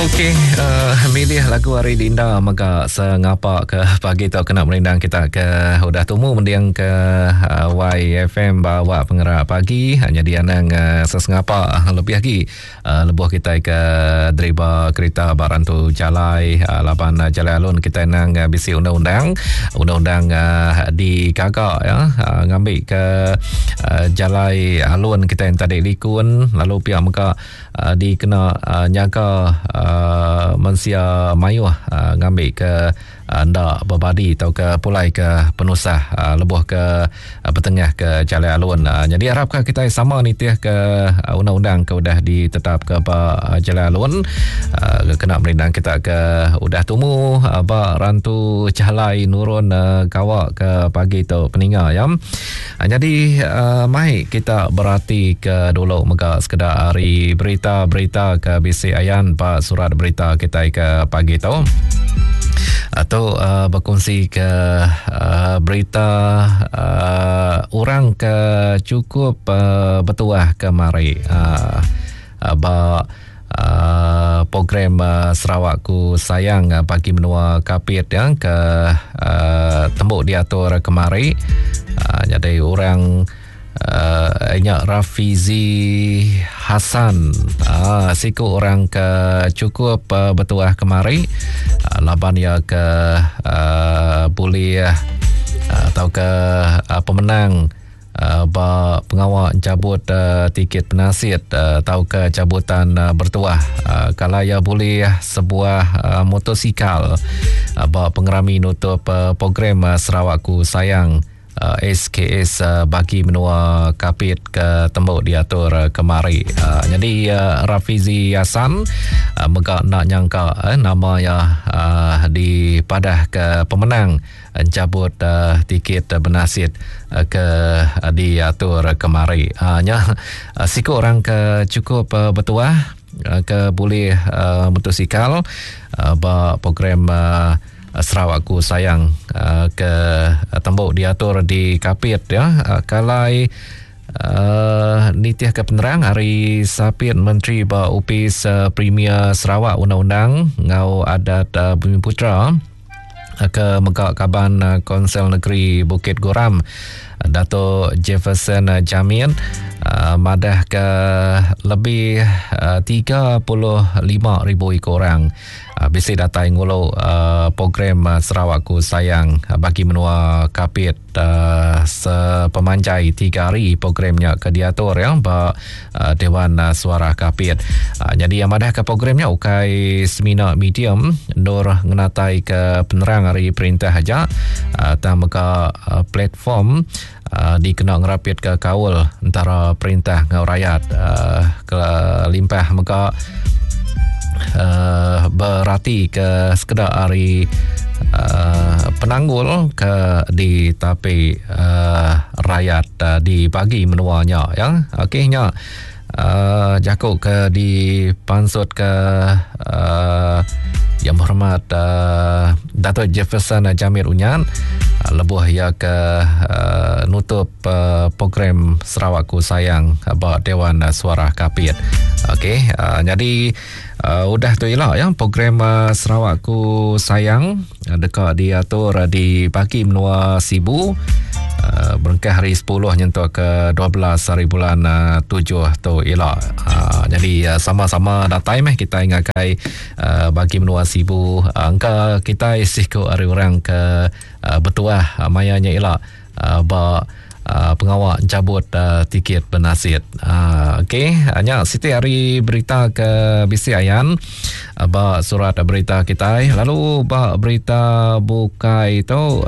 Okey, uh, milih lagu hari Linda mega sengapa ke pagi tu kena merindang kita ke udah tumu mending ke uh, YFM bawa pengerak pagi hanya dia nang uh, sesengapa lebih lagi uh, lebuh kita ke deriba kereta barang tu jalai uh, laban uh, jalai alun kita nang uh, bisi undang-undang undang-undang uh, digaga ya uh, ngambil ke uh, jalai alun kita yang tadi likun lalu pihak mega uh, dikena uh, nyaga uh, mensia mayuh uh, ngambil ke uh, enda berbadi atau ke pulai ke penusah uh, lebuh ke uh, bertengah ke jalai alun. Uh, jadi harapkan kita sama nitih ke uh, undang-undang ke udah ditetap ke ba uh, jalai alun uh, kena merindang kita ke udah tumu uh, ba rantu jalai nurun uh, gawa ke pagi tu peninga ya. Nyadi mai kita berati ke dulu mega sekeda ari berita-berita ke bisi ayan ba surat berita kitai ke pagi tu. Tu bekunsi ke berita orang ke chukup betuah ke mari ba Uh, program uh, Sarawakku Sayang uh, bagi menua Kapit ya ke uh, tembuk diatur kemari uh, jadi orang uh, nya Rafizi Hassan uh, siku orang ke cukup uh, betuah kemari uh, laban ya ke uh, boleh uh, atau ke uh, pemenang ba pengawa enchabut tiket penasit tauka cabutan bertuah kala iya bulih sebuah motosikal ba pengerami nutup program Sarawakku Sayang SKS bagi menua Kapit ke tembu diatur kemari. Nyadi Rafizi Hassan mega enda nyangka nama iya dipadah ke pemenang Enchabut tiket benasit ke diatur kemari. Nya siku orang ke chukup betuah ke bulih motosikal ba program Sarawakku Sayang ke tembu diatur di Kapit ya. Kalai nitihka penerang ari Sapit Menteri ba Opis Premier Sarawak Undang-Undang enggau Adat Bumiputera ke mega kaban Konsel Negeri Bukit Goram Dato Jefferson Jamit madahka lebih 35,000 iku orang bisi datai ngulu program Sarawakku Sayang bagi menua Kapit sepemanjai 3 hari program nya ke diatur ya ba Dewan Suara Kapit. Nyadi yang madah ke program nya ukai semina medium endur ngenatai ke penerang ari perintah aja tang mega platform dikena ngerapit ke kaul entara perintah enggau rayat kelimpah mega uh, berati ke sekeda ari uh, penanggul ke ditapi uh, rakyat uh, di bagi menua nya ya. Okey nya uh, jaku ke dipansut ke uh, yang berhormat uh, Dato' Jefferson Jamit Unyan uh, lebuh ia ke uh, nutup program Sarawakku Sayang ba Dewan Suara Kapit. Okey, uh, jadi uh, udah tu ila ya program uh, Sarawakku Sayang uh, deka diatur uh, di bagi menua Sibu uh, berengkah hari 10 nyentuk ke 12 hari bulan uh, 7 tu ila. Uh, jadi uh, sama-sama datai meh kita ngagai uh, bagi menua Sibu uh, engka kita siku ari orang ke uh, betuah uh, maya nya ila. ba pengawa enchabut tiket benasit. Okey, nya siti ari berita ke bisi ayan ba surat berita kitai. Lalu ba berita bukai tu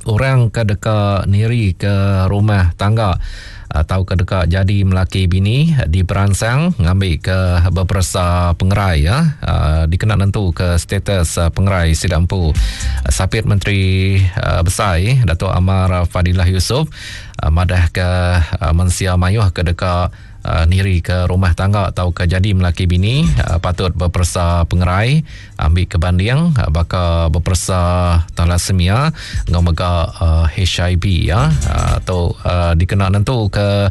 orang ke deka niri ke rumah tangga tauka deka jadi melaki bini diperansang ngambika beperesa pengerai ya dikena nentuka status pengerai sida empu. Sapit Menteri Besai Datuk Amar Fadillah Yusof madahka mensia mayuh ke deka niri ke rumah tangga tauka jadi melaki bini patut beperesa pengerai Ambi ke banding baka beperesa thalassemia enggau mega HIV ya. Tu dikena nentu ke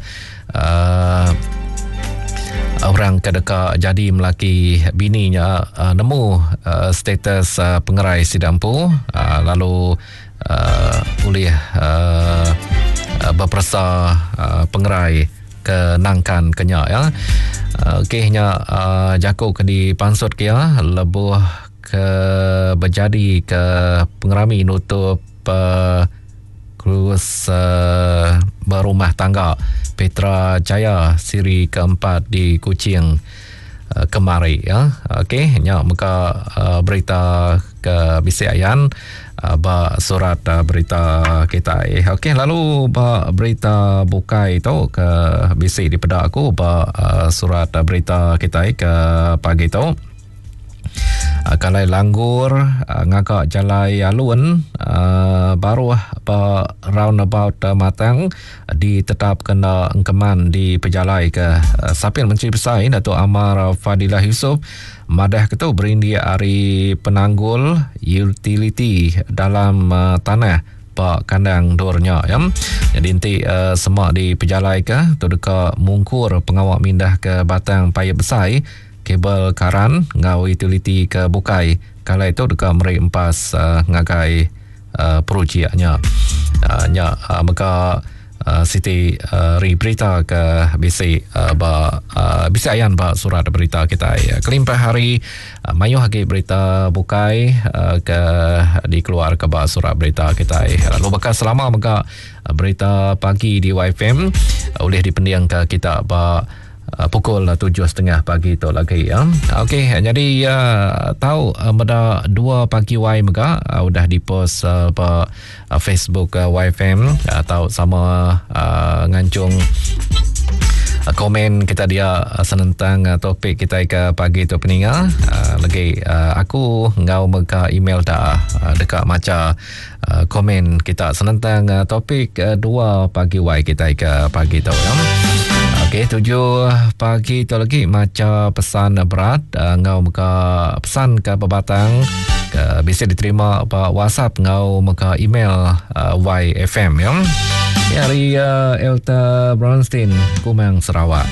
Orang ke deka jadi melaki bini nya uh, nemu uh, status uh, pengerai sida empu uh, lalu uh, ulih uh, beperesa uh, pengerai ke nangkan ke nya ya. Okey nya uh, jaku ke dipansut ke ya lebuh ke bejadi ke pengerami nutup uh, Kurus uh, berumah tangga Petra Jaya siri keempat di Kuching uh, kemari ya. Okey nya mega uh, berita ke bisi ayan uh, ba surat uh, berita kita. Okey lalu ba berita bukai tu ke bisi dipeda aku ba uh, surat uh, berita kita ke pagi tu. Ah, kalai langgur ah, ngaga jalai alun ah, baruh ba roundabout Matang ditetap kena engkeman di pejalai ke Sapin Menteri Besai Datuk Amar Fadilah Yusof madah ke tu berindik ari penanggul utiliti dalam tanah ba kandang endur nya ya. Jadi enti uh, semak di pejalai ke tu deka mungkur pengawa mindah ke batang paip besai Kabel karan enggau utiliti ke bukai kalai tu deka meri empas uh, ngagai uh, projek nya. Uh, nya uh, mega uh, siti uh, ri berita ke bisi uh, ba uh, bisi ayan ba surat berita kitai. Kelimpah hari uh, mayuh agi berita bukai uh, ke dikeluar ke ba surat berita kitai. Lalu baka selama mega berita pagi di YFM ulih dipendingka kita ba Uh, pukul 7.30 pagi tu lagi ya. Okey, jadi uh, tahu uh, meda 2 pagi Y mega uh, udah dipost uh, ba uh, Facebook uh, YFM uh, tahu sama uh, ngancung uh, komen kita dia uh, senentang uh, topik kita ke pagi tu peninga uh, lagi uh, aku ngau mega email dah uh, dekat maca uh, komen kita senentang uh, topik uh, 2 pagi Y kita ke pagi tu ya. Okey, 7 pagi tu lagi maca pesan berat uh, ngau muka pesan ke pebatang ke bisa diterima ba WhatsApp ngau muka email uh, YFM ya. Ini hari uh, Elta Bronstein Kumang Sarawak.